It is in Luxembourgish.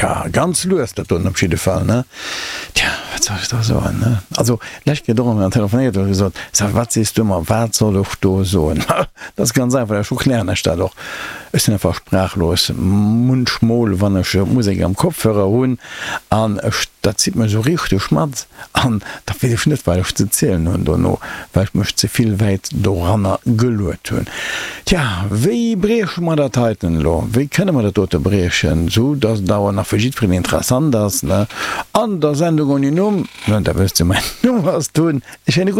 Tja, ganz lues dat doen op jidde Fall, ne? Tja, wat soll ech da soen, ne? Also, d'lescht Kéier och eng telefonéiert huet gesot, Sa, wat sees du mer, wat soll ech do soen? Dat ass ganz einfach, ech erklären lech dat och. Ech sinn einfach sprachlos munchmol, wann ech Musek am Kopfhörer hunn an ech, dat zitt mech esou richteg mat an da weess ech net, wat ech ze zielen hunn dono, well ech mech ze vill wäit doranner geluet hunn. Tja, wéi brieche mer dat heiten elo? Wéi kënne mer dat dote briechen, sou datt et awer nach fir jiddwereen interessant ass, ne? An der Sendung ouni Numm, ne, da wësst Dir, mäin Numm ass Tun. E schéine gudden.